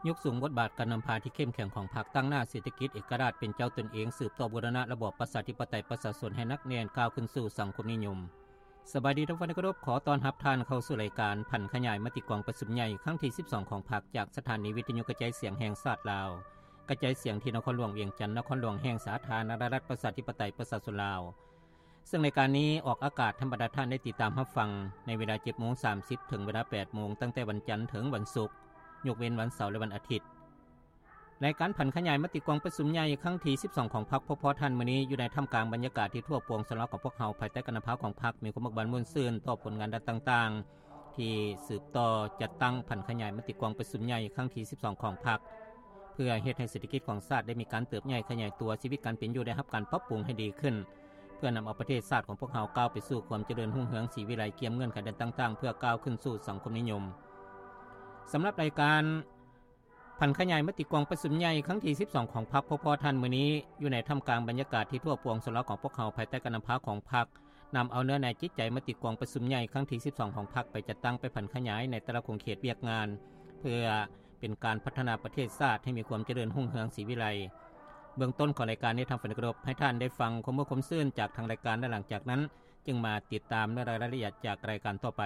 ຍົກສູງບົດບາດການນຳພາທີ່ເຂັ້ມແຂງຂອງພັກ, ຕັ້ງໜ້າເສດຖະກິດເອກະລາດເປັນເຈົ້າຕົນເອງ, ສືບຕໍ່ບູລະນະລະບອບປະຊາທິປະໄຕປະຊາຊົນໃຫ້ໜັກແໜ້ນ, ກ້າວຂຶ້ນສູ່ສັງຄົມນິຍົມ. ສະບາຍດີທ່ານຜູ້ເຄົາລົບ, ຂໍຕ້ອນຮັບທ່ານເຂົ້າສູ່ລາຍການຜັນຂະຫຍາຍມະຕິກອງປະຊຸມໃຫຍ່ຄັ້ງທີສິບສອງຂອງພັກ ຈາກສະຖານີວິທະຍຸກະຈາຍສຽງແຫ່ງຊາດລາວ, ກະຈາຍສຽງທີ່ນະຄອນຫຼວງວຽງຈັນ, ນະຄອນຫຼວງແຫ່ງສາທາລະນະລັດປະຊາທິປະໄຕປະຊາຊົນລາວ. ເຊິ່ງລາຍການນີ້ອອກອາກາດໃຫ້ບັນດາທ່ານໄດ້ຕິດຕາມຮັບຟັງໃນເວລາເຈັດໂມງສາມສິບ ເຖິງເວລາແປດໂມງ ຕັ້ງແຕ່ວັນຈັນເຖິງວັນສຸກ, ຍົກເວັ້ນວັນເສົາ ແລະ ວັນອາທິດ. ລາຍການຜັນຂະຫຍາຍມະຕິກອງປະຊຸມໃຫຍ່ຄັ້ງທີສິບສອງຂອງພັກ ພົບພໍ້ທ່ານມື້ນີ້ ຢູ່ໃນທ່າມກາງບັນຍາກາດທີ່ທົ່ວປວງສະເລັດຂອງພວກເຮົາ ພາຍໃຕ້ການນຳພາຂອງພັກ ມີຄວາມເບີກບານມ່ວນຊື່ນຕໍ່ຜົນງານດ້ານຕ່າງໆ ທີ່ສືບຕໍ່ຈັດຕັ້ງຜັນຂະຫຍາຍມະຕິກອງປະຊຸມໃຫຍ່ຄັ້ງທີສິບສອງຂອງພັກ ເພື່ອເຮັດໃຫ້ເສດຖະກິດຂອງຊາດໄດ້ມີການເຕີບໃຫຍ່ຂະຫຍາຍຕົວ, ຊີວິດການເປັນຢູ່ໄດ້ຮັບການປັບປຸງໃຫ້ດີຂຶ້ນ, ເພື່ອນຳເອົາປະເທດຊາດຂອງພວກເຮົາກ້າວໄປສູ່ຄວາມຈະເລີນຮຸ່ງເຮືອງສີວິໄລ, ກຽມເງື່ອນໄຂດ້ານຕ່າງໆ ເພື່ອກ້າວຂຶ້ນສູ່ສັງຄົມນິຍົມ. ສຳລັບລາຍການຜັນຂະຫຍາຍມະຕິກອງປະຊຸມໃຫຍ່ຄັ້ງທີສິບສອງຂອງພັກ ພົບພໍ້ທ່ານມື້ນີ້ ຢູ່ໃນທ່າມກາງບັນຍາກາດທີ່ທົ່ວປວງສະເລັດຂອງພວກເຮົາ ພາຍໃຕ້ການນຳພາຂອງພັກ ນຳເອົາເນື້ອໃນຈິດໃຈມະຕິກອງປະຊຸມໃຫຍ່ຄັ້ງທີສິບສອງຂອງພັກ ໄປຈັດຕັ້ງ, ໄປຜັນຂະຫຍາຍໃນແຕ່ລະຂົງເຂດວຽກງານ ເພື່ອເປັນການພັດທະນາປະເທດຊາດໃຫ້ມີຄວາມຈະເລີນຮຸ່ງເຮືອງສີວິໄລ. ເບື້ອງຕົ້ນຂອງລາຍການນີ້ ທ່ານຜູ້ເຄົາລົບ, ໃຫ້ທ່ານໄດ້ຟັງຄວາມມ່ວນຄວາມຊື່ນຈາກທາງລາຍການ ແລະ ຫຼັງຈາກນັ້ນຈຶ່ງມາຕິດຕາມເນື້ອໃນລາຍລະອຽດຈາກລາຍການຕໍ່ໄປ.